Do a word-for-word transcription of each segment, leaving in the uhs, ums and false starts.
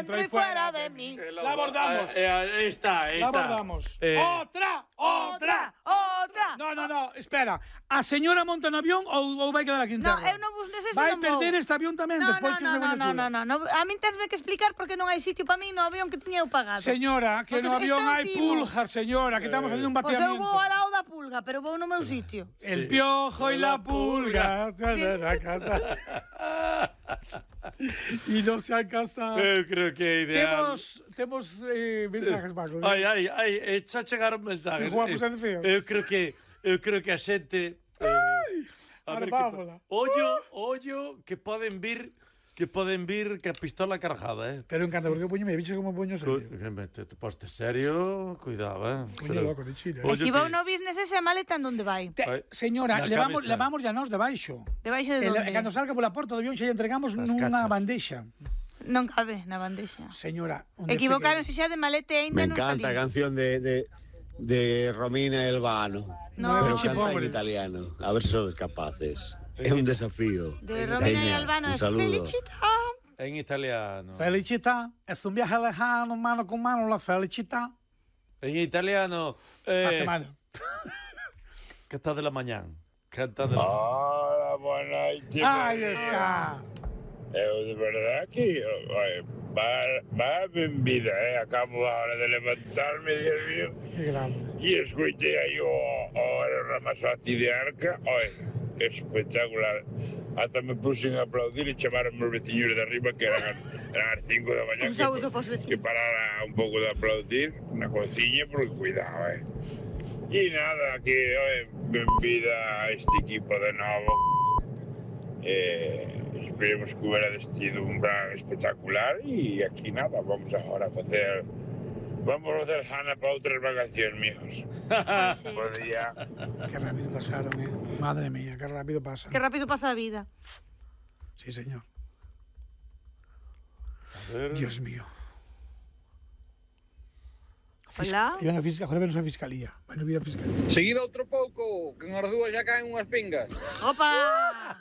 dentro y fuera de mí. La abordamos. Eh, eh, está, está. La abordamos. Eh, Outra, outra, outra. No, no, no, espera. A señora monta no avión ou, ou vai quedar aquí en No, terra? eu non vos nese Vai non vou. perder este avión tamén No, despois no, que no, se no, veña no, chula. no, no, no. A min tesme que explicar porque non hai sitio para min no avión que tiña eu pagado. Señora, que Porque no avión isto é hai antiguo. pulgas, señora, que estamos facendo un Pois eu bateamiento. vou ao lado da pulga, pero vou no meu sitio. El piojo y la pulga. La casa. Y no se han casado. Eu creo que é ideal. Temos, temos eh, mensajes, Paco. Ai, ai, ai, eh, xa chegaron mensajes. Que guapos Eh, e feos. Eu creo que eu creo que a xente eh, a ver que Armámola. ollo, ollo que poden vir que poden vir que a pistola cargada, eh. Pero encanta, porque eu puñome, bicho como puño Cu- serio. que me te, te poste serio, cuidado, eh. Puño loco de Chile. Ollo E se vou que- no business ese maleta en donde vai? Te, Ai, señora, na levamos, cabeza. levamos ya nos de baixo. Debaixo de E le- onde? cando salga pola porta do avión xa lle entregamos As nunha cachas. bandexa. Non cabe na bandexa. Señora, onde Equivocaronse xa de maleta e Me ainda non encanta la salí. canción de, de, de Romina Elvano. No. Pero Che, canta pobre. en italiano. A ver si sois capaces. Es un desafío. De Romina y Peña, Albano un es saludo. felicità. En italiano. Felicità, es un viaje lejano, mano con mano, la felicità. En italiano. A Eh, semana. Canta de la mañana. Canta de la Hola, boa noite. Aí está. Eu de verdad que oi, va, va ben vida, eh? Acabo ahora de levantarme, Dios mío, Que grande. e escoitei aí o, o Ramazzotti de Arca, oi, espectacular. Ata me puxen a aplaudir e chamaron os veciños de arriba que eran, eran as cinco da mañá Un saúdo que, pos que vecinos. parara un pouco de aplaudir na cociña porque cuidado, eh. E nada, que oi, ben vida a este equipo de novo. Eh, esperemos que hubiera sido un gran espectacular y aquí nada, vamos ahora a hacer vamos a hacer Hanna para otras vacaciones, mijos. Buen día. Qué rápido pasaron, eh. Madre mía, qué rápido pasan. Que rápido pasa a vida. Sí, señor. A ver. Dios mío. Hola. Iban a fiscalía, joder, a fiscalía. Bueno, ir a fiscalía. Seguido outro pouco, que en Ardúa xa caen unhas pingas. ¡Opa!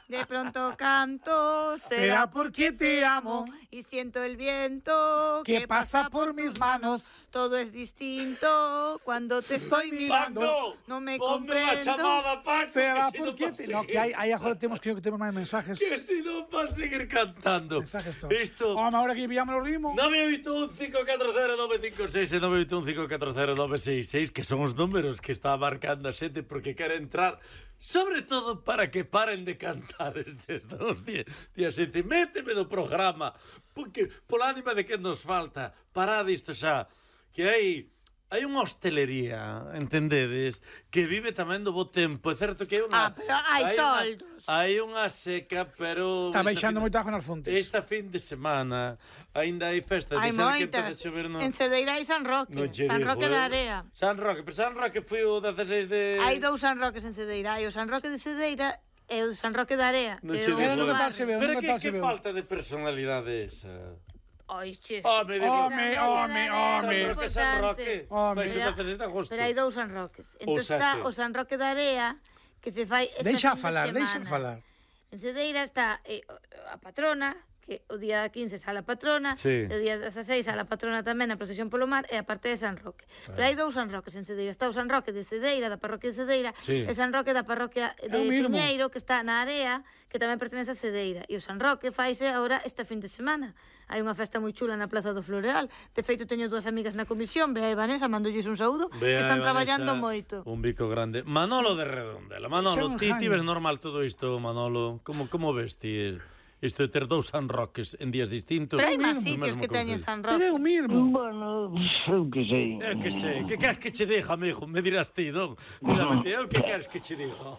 De pronto canto, Será será porque te amo, y siento el viento que pasa por mis manos. Todo es distinto cuando te estoy mirando. Paco, No me ponme unha comprendo. chamada, Paco. Será que si non porque vas te... seguir- No, que hai, hai agora temos, creo que temos máis mensajes. Que si non vas seguir cantando. Mensajes todos. Isto... Home, ahora que pillamos o ritmo. nove oito un cinco catro cero nove cinco seis e nove oito un cinco catro cero nove seis seis, que son os números que está marcando a xente porque quere entrar, sobre todo para que paren de cantar estes dos días. Días xente, méteme no programa, porque pola ánima de que nos falta, parad isto xa, que hai hai unha hostelería, entendedes, que vive tamén do bo tempo. É certo que hai unha Ah, pero hai unha- toldos. hai unha seca, pero Está esta baixando fin- moito ajo nas fontes. Esta fin de semana aínda hai festas, Hai de ser que moitas. empeza a chover no... En Cedeira hai San Roque. no che San digo, Roque eh. da Area. San Roque, pero San Roque foi o dezasseis de... Hai dous San Roques en Cedeira. Hai o San Roque de Cedeira e o San Roque da Area. No que che é o digo, Pero do non barrio. tal se veu, Pero non que, tal se que veu. falta de personalidade esa? Ai, ches. Home, de Home, home, San home. Roque, San Roque. Home. Fai o dezasseis de agosto. Pero hai dous San Roques. Entón sea está que- o San Roque da Area, que se fai esta Deixa fin de falar, deixa semana. falar. En Cedeira está eh, a patrona, que o día quince sale a patrona, Sí. e o día dezasseis sale a patrona tamén na procesión polo mar, e a parte de San Roque. Pero hai dous San Roques en Cedeira. Está o San Roque de Cedeira, da parroquia de Cedeira, Sí. e San Roque da parroquia É de o mismo. Piñeiro, que está na Area, que tamén pertenece a Cedeira. E o San Roque faise agora esta fin de semana. Hai unha festa moi chula na Plaza do Floreal. De feito, teño dúas amigas na comisión, Bea e Vanessa, mandolles un saúdo, que Vea, están Vanessa, traballando moito. Un bico grande. Manolo de Redondela. Manolo, Son ti, ti Jaime. ves normal todo isto, Manolo? Como, como ves ti isto de ter dous San Roques en días distintos? Pero hai máis no sitios mesmo que teñen concello? San Pero é Roque. o mismo. Bueno, eu que sei. Eu que sei, que queres que che diga, amigo? Me dirás ti, non? Mírame, ti, eu que queres que che diga?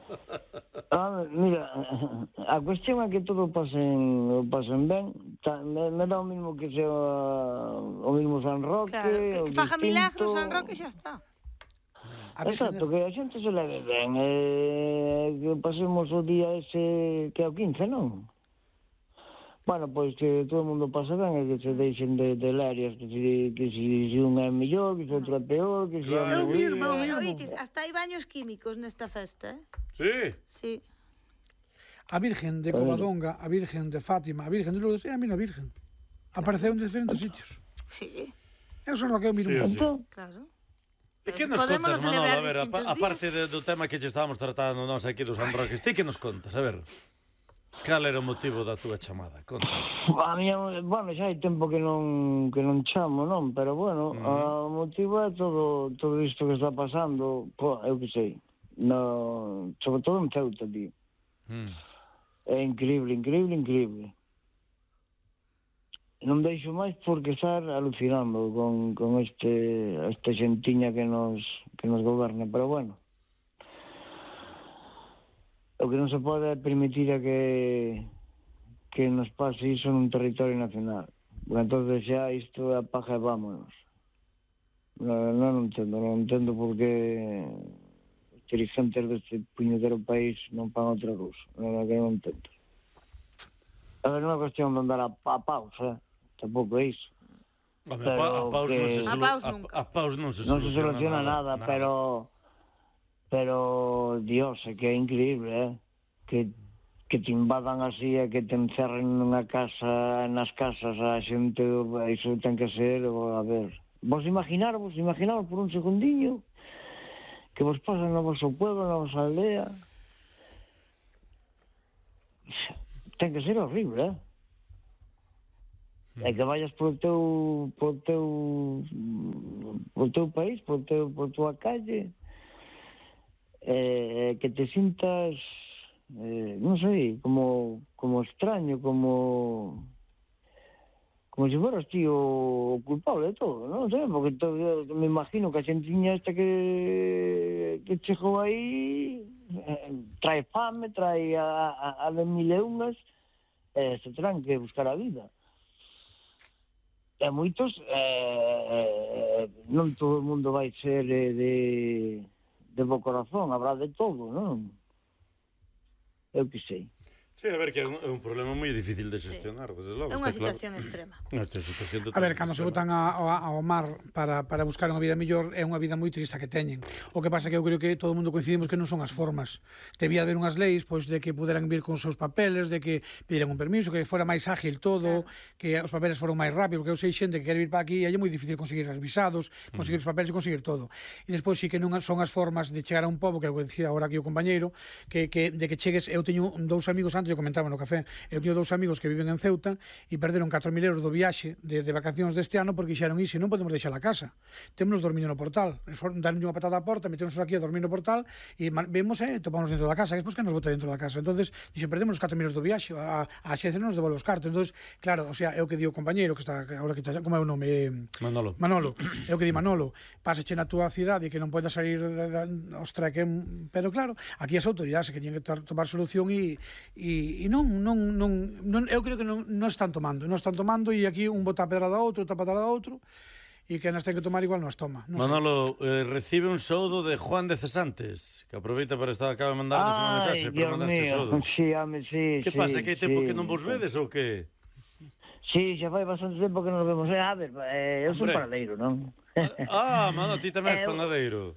Ah, mira, a cuestión é que todo pasen, o pasen ben. Ta, me, me dá o mismo que sea o mismo San Roque, Claro, que, o que faja milagros distinto. San Roque xa está. A ver, Exacto, que a xente se leve ben, eh, que pasemos o día ese que é o quince, non? Bueno, pois que todo o mundo pasa ben e que se deixen de, de lerias, que si, que si, si un é mellor, que si outro é peor, que si... Claro. É o mismo, é o Eh, mismo. oiches, hasta hai baños químicos nesta festa, eh? Sí. Sí. A Virgen de Covadonga, a Virgen de Fátima, a Virgen de Lourdes, é a mesma Virgen. Apareceu en diferentes sitios. Sí, Eu son Roqueo miro Sí, un sí. punto. claro. E que Pero nos podémolo contas, Manolo? celebrar A ver, a, distintos a parte días. de, do tema que lle estábamos tratando nós aquí dos San Roques, ti que nos contas? A ver, cal era o motivo da túa chamada? Conta. A miña, bueno, xa hai tempo que non que non chamo, non? Pero bueno, Uh-huh. o motivo é todo todo isto que está pasando, po, eu que sei. No, sobre todo en Ceuta, tío. Mm. É increíble, increíble, increíble. Non deixo máis porque estar alucinando con, con este esta xentiña que nos que nos goberna, pero bueno. O que non se pode permitir é que que nos pase iso nun territorio nacional. Porque entonces xa isto é a paja e vámonos. Non, non entendo, non entendo porque os dirigentes deste puñetero país non pan outra cousa. Non, que non entendo. A ver, non é cuestión de andar a, a pausa, tampouco é iso. Home, Pero a, pa, a paus que- non se, A solu- paus a, nunca. a paus non se Non se soluciona, soluciona nada, nada. pero pero Dios, é que é increíble, eh? Que que te invadan así e que te encerren nunha casa, nas casas a xente, iso ten que ser, a ver. Vos imaginarvos, imaginarvos por un segundinho que vos pasan no vosso pueblo, na vosa aldea. Ten que ser horrible, eh? E que vayas polo teu polo teu polo teu país, polo teu por tua calle, eh, que te sintas eh, non sei, como como extraño, como como se fueras ti o culpable de todo, non sei, porque todo, eu me imagino que a xentiña esta que que chegou aí eh, trae fame, trae a, a, a de mil e unhas, eh, se terán que buscar a vida. E moitos, eh, non todo o mundo vai ser eh, de, de bo corazón, habrá de todo, non? Eu que sei. Sí, a ver, que é un, é un problema moi difícil de xestionar, desde logo. É unha está claro. situación extrema. Unha situación A ver, cando se botan a, a, ao mar para, para buscar unha vida mellor, é unha vida moi triste que teñen. O que pasa que eu creo que todo o mundo coincidimos que non son as formas. Debía haber unhas leis pois de que puderan vir con os seus papeles, de que pediran un permiso, que fora máis ágil todo, claro, que os papeles foron máis rápido, porque eu sei xente que quere vir para aquí e é moi difícil conseguir os visados, conseguir os papeles e conseguir todo. E despois sí que non son as formas de chegar a un pobo, que é o que decía agora aquí o compañeiro, que, que de que chegues, eu teño dous amigos antes, eu comentaba no café, eu teño dous amigos que viven en Ceuta e perderon catro mil euros do viaxe de, de vacacións deste ano porque dixeron iso, non podemos deixar a casa. Temos dormindo no portal. Daron unha patada á porta, metémonos aquí a dormir no portal e vemos e eh, topamos dentro da casa. E despois que nos bota dentro da casa. Entonces, dixo, perdemos os catro mil euros do viaxe, a, a xencia non nos devolve os cartos. Entonces, claro, o sea, é o que di o compañeiro que está agora que está, como é o nome? Manolo. Manolo. É o que di Manolo. Pásache na túa cidade e que non podes salir ostra que, pero claro, aquí as autoridades que tiñen que tomar solución e e non non non Non, eu creo que non, non están tomando, non están tomando e aquí un bota a pedrada a outro, outra patada a outro e que nas ten que tomar igual non as toma. Non Manolo, eh, recibe un soudo de Juan de Cesantes, que aproveita para estar, acaba de mandarnos unha mensaxe para mandar este soudo. Sí, home, sí, Que sí, pasa, que hai tempo sí, que non vos vedes ou que? Sí, xa fai bastante tempo que nos vemos. Eh, a ver, eh, eu son Hombre. paradeiro, non? Ah, Manolo, ti tamén és Eu- panadeiro.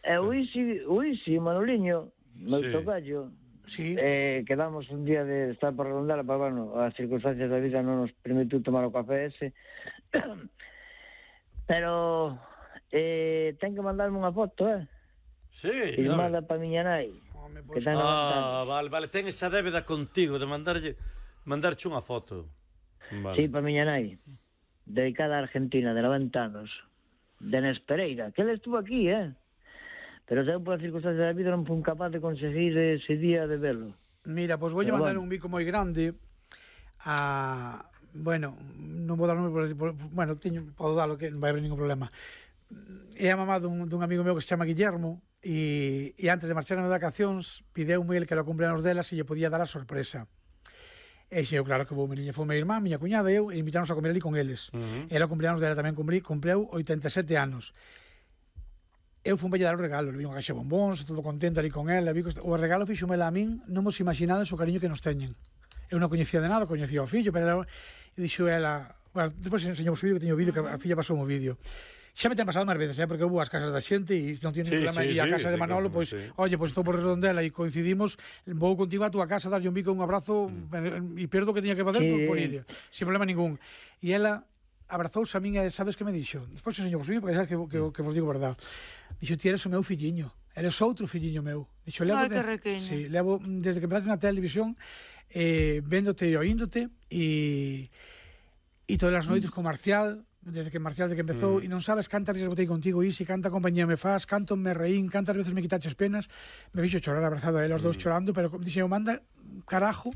E o Isi, o Isi, Manoliño, meu Sí. tocayo, Sí. eh, quedamos un día de estar para rondar, pero bueno, as circunstancias da vida non nos permitiu tomar o café ese. Pero eh, ten que mandarme unha foto, eh? Sí, a ver. Filmada pa miña nai. Home, Que pois, ten Ah, vale, vale, ten esa débeda contigo de mandarlle mandarche unha foto. Vale. Sí, pa miña nai. Dedicada a Argentina, de noventa anos. De Nespereira, que ele estuvo aquí, eh? Pero eu, por as circunstancias da vida, non fui capaz de conseguir ese día de verlo. mira, pois vou Pero mandar bueno. un bico moi grande a... Bueno, non vou dar nome, por, por, bueno, teño, podo dalo, que non vai haber ningún problema. É a mamá dun, dun amigo meu que se chama Guillermo e, e antes de marchar nas vacacións pideume el que era o cumpleanos delas e lle podía dar a sorpresa. E xe, eu claro que vou, mi niña, foi minha irmá, miña cuñada e eu, e invitáronos a comer ali con eles. Uh-huh. Era o cumpleanos dela tamén, cumprí, cumpleu oitenta e sete anos. Eu fui dar o regalo, le vi unha caixa de bombóns, todo contento ali con ela, vi que o regalo fixomela a min, non vos imaginades o cariño que nos teñen. Eu non coñecía de nada, coñecía o fillo, pero ela, e dixo ela, bueno, despois enseñou o vídeo, que teño o vídeo, que a filla pasou o vídeo, xa me ten pasado máis veces, eh, porque eu vou ás casas da xente e non tiene Sí, problema, sí, e a sí, casa de sí, Manolo, claro, pois, sí. oye, pois estou por Redondela e coincidimos, vou contigo a túa casa, darlle un bico, un abrazo, e perdo o que tiña que facer Sí. por, por ir, sin problema ningún. E ela abrazouse a min e sabes que me dixo? Despois enseño vos vídeo, porque sabes que, que, que vos digo verdad. Dixo, ti eres o meu filliño, eres outro filliño meu. Dixo, levo, Ai, que de, riquiño. sí, levo desde que empezaste na televisión, eh, véndote e oíndote, e e todas as noites con Marcial, desde que Marcial de que empezou, mm. e non sabes cantas risas botei contigo, Isi, canta compañía me faz, canto me reín, cantas veces me quitaches penas, me fixo chorar abrazado a eles, os dous chorando, pero dixen, manda carajo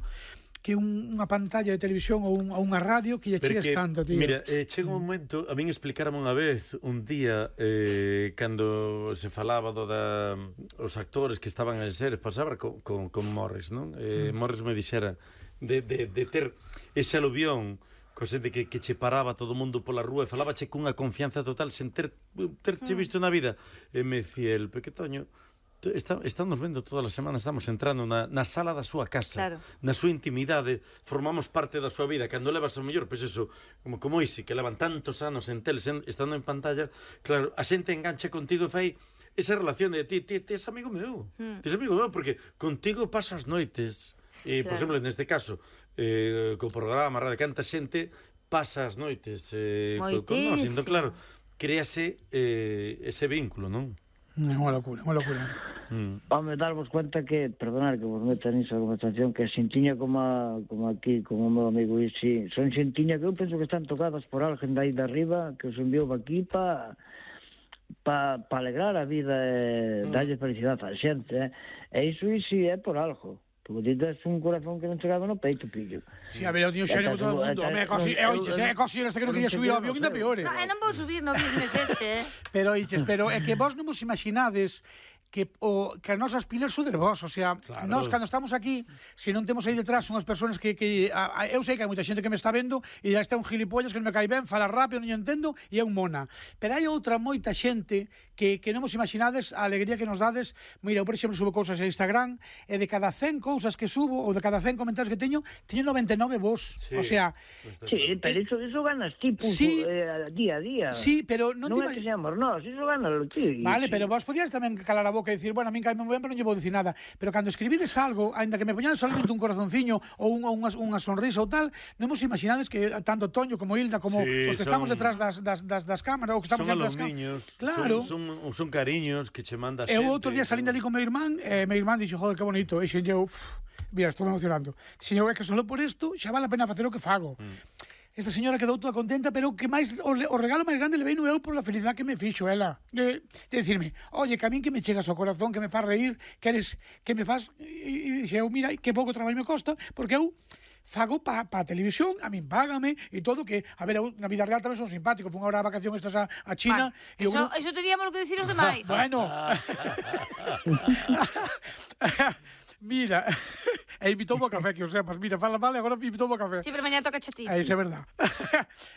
que un, unha pantalla de televisión ou un, unha radio que lle chegues tanto, tío. Mira, eh, chega un momento, a min explicaram unha vez, un día, eh, cando se falaba do da, os actores que estaban en series, pasaba con, con, con Morris, non? Eh, mm. Morris me dixera de, de, de ter ese aluvión, co xente que, que che paraba todo o mundo pola rúa e falabache cunha confianza total sen ter, terche visto na vida. E me dicía el, Pequetoño, Está, estamos vendo todas as semanas, estamos entrando na, na sala da súa casa, claro. na súa intimidade, formamos parte da súa vida. Cando levas o mellor, pois eso, como, como ese, que levan tantos anos en teles, en, estando en pantalla, claro, a xente engancha contigo e fai esa relación de ti, ti, ti es amigo meu, mm. ti es amigo meu, porque contigo paso as noites, e, claro. Por exemplo, neste caso, eh, co programa, radio, canta xente, pasa as noites eh, con, con nós, entón, claro, créase eh, ese vínculo, non? É unha locura, unha locura. Mm. Home, darvos cuenta que, perdonar que vos meta nisso a conversación, que a xentiña como, a, como aquí, como o meu amigo Isi, son xentiña que eu penso que están tocadas por alguén dai de arriba, que os enviou aquí pa, pa, pa alegrar a vida e mm. darlle felicidade á xente, eh? E iso Isi é por algo. Porque ti tes un corazón que non chegaba no peito, pillo. Si, a ver, eu tiño xerio con todo o mundo. Home, é cosi, é oiches, é cosi, este que non quería subir ao avión, ainda peor, eh. No, non vou subir no business ese, eh. Pero, oiches, pero é que vos non vos imaginades que o que as nosas pilas son de vos, o sea, claro. Nós cando estamos aquí, se non temos aí detrás unhas persoas que, que a, a, eu sei que hai moita xente que me está vendo e já está un gilipollas que non me cae ben, fala rápido, non entendo e é un mona. Pero hai outra moita xente que, que non vos imaginades a alegría que nos dades. Mira, eu, por exemplo, subo cousas a Instagram e de cada cen cousas que subo ou de cada cen comentarios que teño, teño noventa e nove vos. Sí. O sea, sí, pero iso, iso ganas ti, punto, sí, eh, día a día. Sí, pero non, non é que seamos nós, iso ganalo ti. Vale, sí. Pero vos podías tamén calar a boca e dicir, bueno, a min caime moi ben, pero non lle vou dicir nada. Pero cando escribides algo, aínda que me poñades solamente un corazonciño ou un, unha, unha sonrisa ou tal, non vos imaginades que tanto Toño como Hilda, como sí, os que son, estamos detrás das, das, das, das cámaras, ou que estamos son detrás das cámaras. Claro. Son, son, son cariños que che manda xente. Eu outro día salín dali con meu irmán, e meu irmán dixo, joder, que bonito. E xe eu, mira, estou emocionando. Xe eu, é que solo por isto xa vale a pena facer o que fago. Mm. Esta señora quedou toda contenta, pero que máis o, o regalo máis grande le veino eu por a felicidade que me fixo ela. De, de decirme, oye, que a min que me chegas ao corazón, que me faz reír, que eres, que me faz... E, e dixe eu, mira, que pouco traballo me costa, porque eu fago pa, pa televisión, a min págame e todo, que, a ver, eu na vida real tamén son simpático, fun agora a vacación estas a, a China... Bueno, eso, creo... eso teríamos que decir os demais. Bueno... Mira, e invitou-me ao café, que o sepas. Mira, fala mal e agora invitou-me ao café. Sí, pero mañá toca a ti. É, iso é verdad.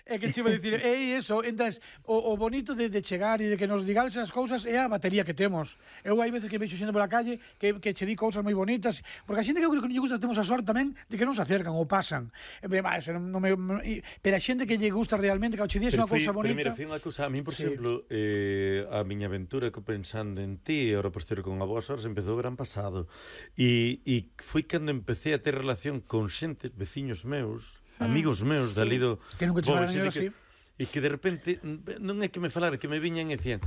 É que che iba a dicir, é iso, entonces, o, o bonito de, de chegar e de que nos digades as cousas é a batería que temos. Eu hai veces que vexo xente pola calle que, que che di cousas moi bonitas, porque a xente que eu creo que non lle gusta temos a sorte tamén de que non se acercan ou pasan. E, bah, non, non me, pero a xente que lle gusta realmente, que che dies unha cousa bonita... Pero mira, foi unha cousa, a mí, por sí. exemplo, eh, a miña aventura que pensando en ti, e ahora posterior con a boas horas, empezou o verán pasado. E E, e foi cando empecé a ter relación con xentes, veciños meus, mm. amigos meus, sí. dali do... Que nunca te falaron así. E que de repente, non é que me falara, que me viñan e decían,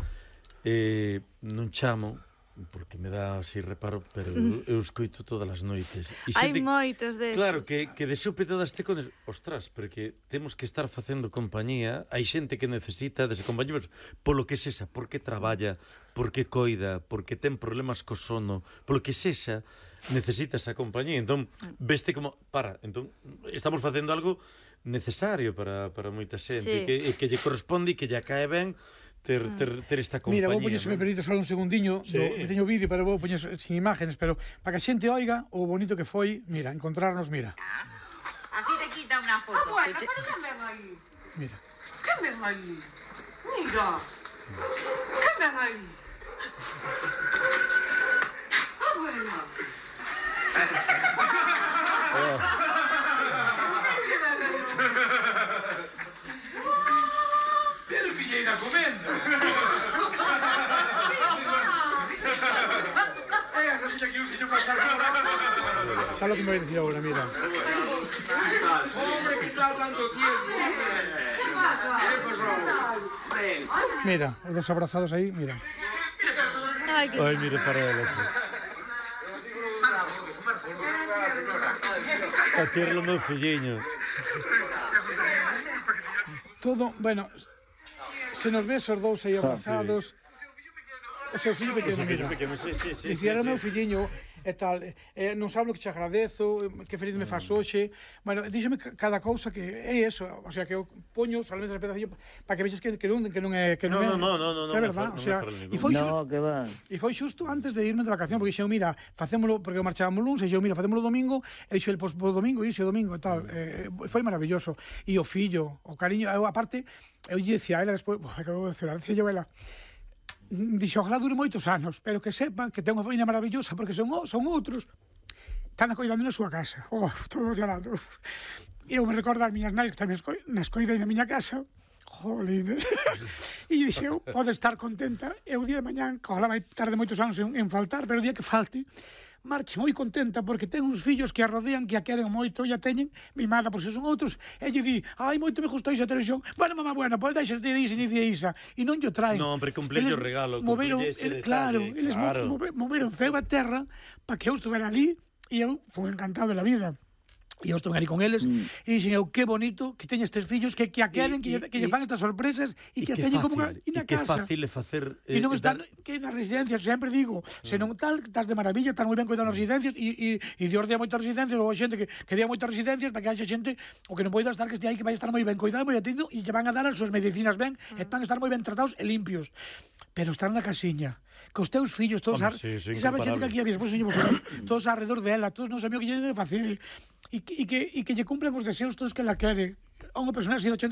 eh, non chamo, porque me dá así reparo, pero eu, eu escoito todas as noites. Hai moitos deses. Claro, que, que de súpe todas te cones, ostras, porque temos que estar facendo compañía, hai xente que necesita dese compañeros, polo que sexa, porque traballa, porque coida, porque ten problemas co sono, polo que sexa, necesita esa compañía. Entón, veste como, para, entón, estamos facendo algo necesario para, para moita xente, sí. que, que lle corresponde e que lle cae ben ter, ter, ter esta compañía. Mira, vou poñer, se me permite, só un segundiño, sí. do, teño vídeo, pero vou poñer sin imágenes, pero para que a xente oiga o bonito que foi, mira, encontrarnos, mira. Así te quita una foto. Ah, bueno, pero que ven aí? Mira. Que ven aí? Mira. Que ven aí? Ah, bueno. Oh. Pero pillei na comenda. Sabes lo que me voy a decir ahora, mira. Hombre, ¿qué tal tanto tiempo? ¿Qué pasó? Mira, os dos abrazados aí, mira. Ai, que... Ai, mire para ela. A tirlo meu filliño. Todo, bueno, se nos ves os dous aí abrazados. O seu fillo pequeno, mira. Sí, sí, sí. Dicía, era o meu filliño, e tal, eh, non sabes o que te agradezo, que feliz me faz hoxe. Bueno, díxeme cada cousa que é eso, o sea, que eu poño solamente as pedacillo para que vexes que, que, non, que non é... Que non, No, é, no, no, no, no, que é no, verdad, no o sea, me e foi, No, que va. e foi xusto antes de irme de vacación, porque dixeu, mira, facémolo, porque marchábamos luns, e dixeu, mira, facémolo domingo, e dixeu, pois, po domingo, e o domingo, e tal. Eh, foi maravilloso. E o fillo, o cariño, eu, aparte, eu lle dicía a ela despois, que eu vou decir, dicía eu a ela, dixo, ojalá dure moitos anos, pero que sepan que ten unha familia maravillosa, porque son, son outros. Están acoidando na súa casa. Oh, estou emocionado. E eu me recordo as miñas nais que tamén nas coidei na miña casa. Jolines. E dixeu, pode estar contenta. E o día de mañán, que ojalá vai tarde moitos anos en, en faltar, pero o día que falte, marche moi contenta porque ten uns fillos que a rodean, que a queren moito e a teñen mimada por se son outros. E lle di, ai, moito me gustou esa televisión. Bueno, mamá, bueno, pois deixas de dixen e di isa. E non yo traen. Non, pero cumplille o regalo, moveron, cumplille ese el, claro, detalle, eles claro. Move, moveron ceo a terra para que eu estuvera ali e eu fui encantado de la vida. E eu estuve ali con eles mm. e dixen eu, que bonito que teña estes fillos que, que a queren, que, que lle fan estas sorpresas e que a teñen como unha, e na que casa. Que fácil é facer... E non eh, están, dar... que nas residencias, sempre digo, se non tal, estás de maravilla, estás moi ben cuidado nas residencias e, e, e Dios dea moitas residencias, ou a xente que, que dea moitas residencias para que haxa xente o que non poida estar, que este aí que vai estar moi ben cuidado, moi atendido e que van a dar as súas medicinas ben, e van a estar moi ben tratados e limpios. Pero estar na casiña, cos teus fillos, todos Hombre, ar... sí, sí, sabes xente que aquí había, despois señor, todos alrededor dela, todos non sabían o que lle de facer, e que, e que, e que lle cumplen os deseos todos que la quere. A unha persona así de ochenta